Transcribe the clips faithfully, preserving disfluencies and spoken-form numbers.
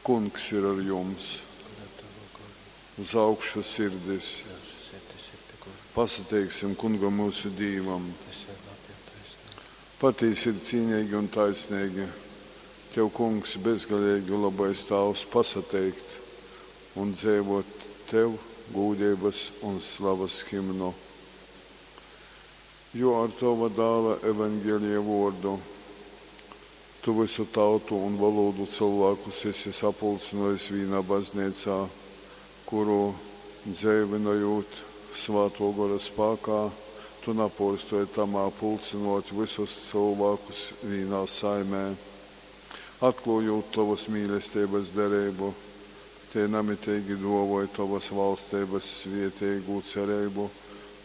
Kungs ir ar jums! Un ar tavu goru. Uz augšu sirdis! Myusu sirdis ir pi Kunga. Pasateiksim Kungam myusu Dīvam! Tas ir labi un taisnīgi. Patīsi ir cīnīgi un taisnīgi Tev, Kungs, bezgaleigi lobais Tāvs, pasateikt un dzeivōt Tev gūdeibas un slavas himnu. Jo ar Tova Dāla Evangelija vōrdu Tu vysu tautu un volūdu cylvākus esi sapulcynōjis vīnā Bazneicā, kuru dzeivynojūt Svātō Gora spākā, Tu napōrstōj tamā pulcynōt vysus cylvākus vīnā saimē. Atklōjūt Tovas mīlesteibas dereibu, tei namiteigi dōvoj Tovas valsteibas svēteigū cereibu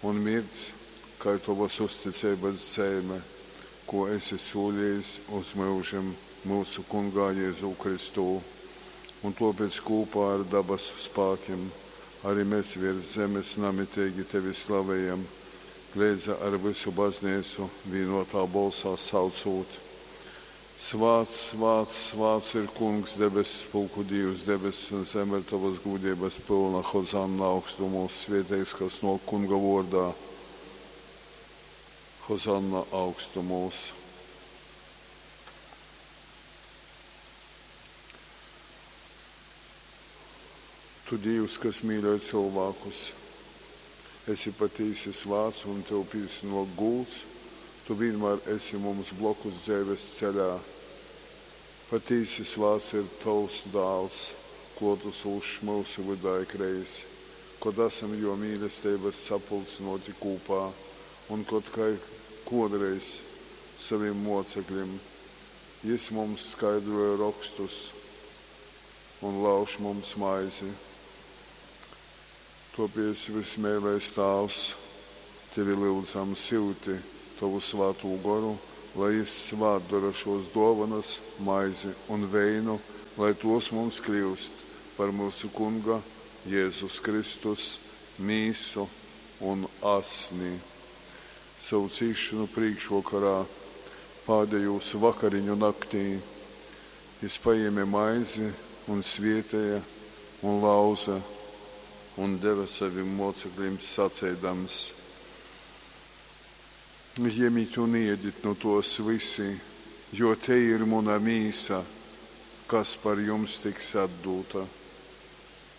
un mirdz kai Tovas uzticeibas zeime, kū esi sūlejis uz myužim myusu Kungā Jezū Kristū. Un tōpēc kūpā ar dabasu spākim ari mes vērs zemes namiteigi Tevi slavejam, leidza ar vysu Bazneicu vīnōtā bolsā saucūt, Svāts, svāts, svāts ir Kungs, debesspulku Dīvs, debess un zeme ir tovas gūdeibas pylna, Hozanna augstumūs, svēteigs, kas nōk Kunga vōrdā. Hozanna augstumūs. Tu, Dīvs, kas mīļoj cylvākus, esi patīsi svāts un Tev pīsanōk gūds, Tu vīnmār esi mums blokus dzeives ceļā. Patīsi svāts ir Tovs Dāls, klōtasūšs myusu vydā ikreiz, kod asam Jō mīlesteibas sapulcynōti kūpā un kod, kai kōdreiz sovim mōceklim, Jys mums skaidroj Rokstus un lauž mums maizi. Tōpēc, vysmeilais Tāvs, Tevi lyudzam, syuti Tovu Svātū Goru, lai Jys svātdora šōs dōvonas, maizi un veinu, lai tōs mums kļyust par myusu Kunga Jezus Kristus Mīsu un Asni. Sovu cīsšonu prīkšvokorā, pādejūs vakariņu naktī, Jys pajēme maizi un svēteja un lauze un deve sovim mōceklim saceidams: Jemit un ēdit nu tōs vysi, jo tei ir muna Mīsa, kas par jums tiks atdūta.